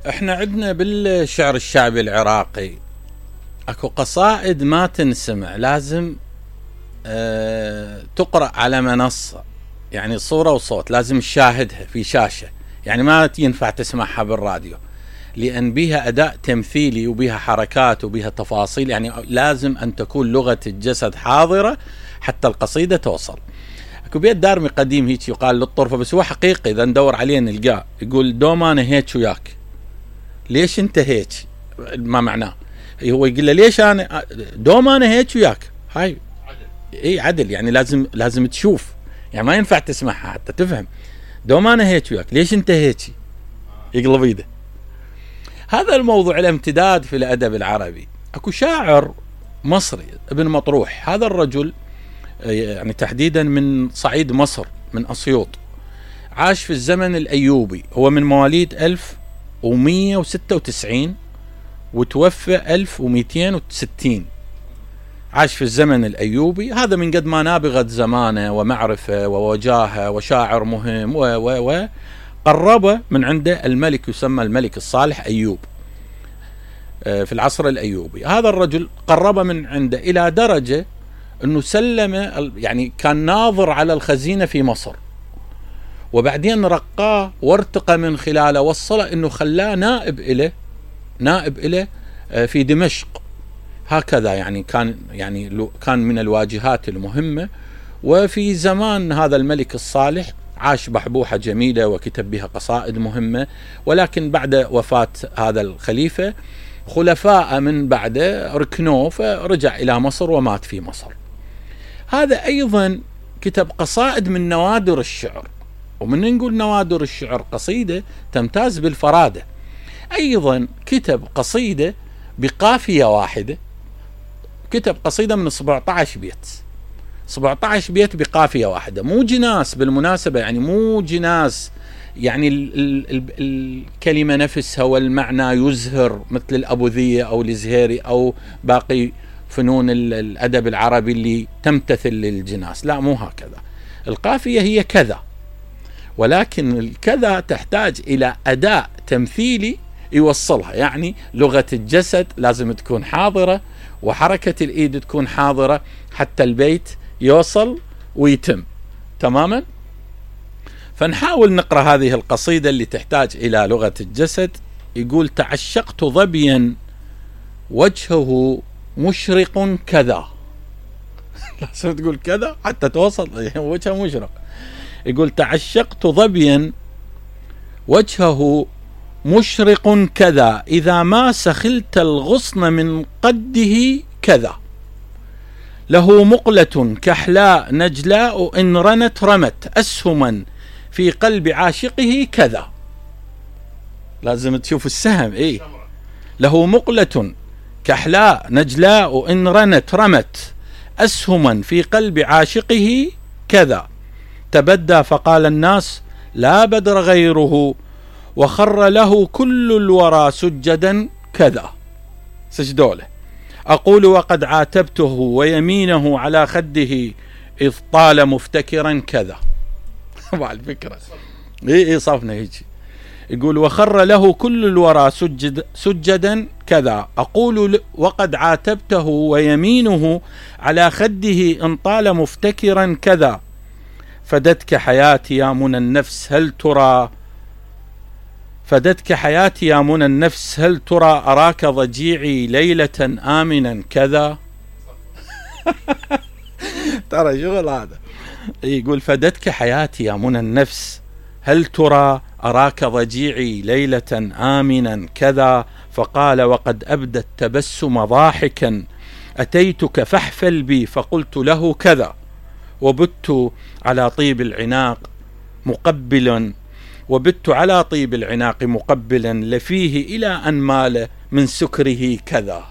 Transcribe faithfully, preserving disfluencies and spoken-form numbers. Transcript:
احنا عندنا بالشعر الشعبي العراقي اكو قصائد ما تنسمع، لازم اه تقرأ على منصة، يعني صورة وصوت، لازم تشاهدها في شاشة، يعني ما ينفع تسمعها بالراديو، لأن بها أداء تمثيلي وبها حركات وبها تفاصيل، يعني لازم أن تكون لغة الجسد حاضرة حتى القصيدة توصل. اكو بيت دارمي قديم هيك يقال للطرفة، بس هو حقيقي إذا ندور عليه نلقاه، يقول دوم أنا هيك وياك، ليش أنت هيك؟ ما معناه، هو يقول له ليش أنا دوم أنا هيك وياك، هاي عدل. إيه عدل، يعني لازم لازم تشوف، يعني ما ينفع تسمعها حتى تفهم. دوم أنا هيك وياك، ليش أنت هيك؟ يقلب ايده. هذا الموضوع له امتداد في الأدب العربي. اكو شاعر مصري ابن مطروح، هذا الرجل يعني تحديدا من صعيد مصر، من أسيوط، عاش في الزمن الأيوبي، هو من مواليد ألف ومية وستة وتسعين وتوفى ألف ومئتين وستين، عاش في الزمن الأيوبي. هذا من قد ما نابغت زمانه ومعرفة ووجاهة وشاعر مهم و و و قرب من عنده الملك يسمى الملك الصالح أيوب في العصر الأيوبي. هذا الرجل قرب من عنده إلى درجة أنه سلم، يعني كان ناظر على الخزينة في مصر، وبعدين رقاه وارتقى من خلاله، وصله أنه خلاه نائب إله نائب إله في دمشق. هكذا يعني كان يعني كان من الواجهات المهمة. وفي زمان هذا الملك الصالح عاش بحبوحة جميلة وكتب بها قصائد مهمة، ولكن بعد وفاة هذا الخليفة خلفاء من بعده ركنوه، فرجع إلى مصر ومات في مصر. هذا أيضا كتب قصائد من نوادر الشعر، ومن نقول نوادر الشعر قصيدة تمتاز بالفرادة. أيضا كتب قصيدة بقافية واحدة، كتب قصيدة من سبعة عشر بيت، سبعة عشر بيت بقافية واحدة، مو جناس بالمناسبة، يعني مو جناس، يعني ال ال ال الكلمة نفسها والمعنى يزهر مثل الأبوذية أو الزهيري أو باقي فنون الأدب العربي اللي تمتثل للجناس، لا مو هكذا. القافية هي كذا، ولكن الكذا تحتاج إلى أداء تمثيلي يوصلها، يعني لغة الجسد لازم تكون حاضرة، وحركة الإيد تكون حاضرة حتى البيت يوصل ويتم تماما. فنحاول نقرأ هذه القصيدة اللي تحتاج إلى لغة الجسد. يقول: تعشقت ظبيا وجهه مشرق كذا. لازم تقول كذا حتى توصل، وجهه مشرق. يقول: تعشقت ظبيا وجهه مشرق كذا، إذا ما سخلت الغصن من قده كذا، له مقلة كحلاء نجلاء إن رنت رمت أسهما في قلب عاشقه كذا. لازم تشوف السهم. إيه، له مقلة كحلاء نجلاء إن رنت رمت أسهما في قلب عاشقه كذا، تبدى فقال الناس لا بدر غيره، وخر له كل الورى سجدا كذا. سجدوله. أقول وقد عاتبته ويمينه على خده إذ طال مفتكرا كذا. مع الفكرة إيه إيه صفنا هيجي. يقول: وخر له كل الورى سجد سجدا كذا، أقول وقد عاتبته ويمينه على خده إن طال مفتكرا كذا، فدتك حياتي يا منى النفس هل ترى فدتك حياتي يا منى النفس هل ترى أراك ضجيعي ليلة آمنا كذا. ترى شغل هذا. يقول: فدتك حياتي يا منى النفس هل ترى أراك ضجيعي ليلة آمنا كذا، فقال وقد أبدى التبسم ضاحكا أتيتك فاحفل بي فقلت له كذا، وبت على طيب العناق مقبلا وبت على طيب العناق مقبلا لفيه إلى أن مال من سكره كذا.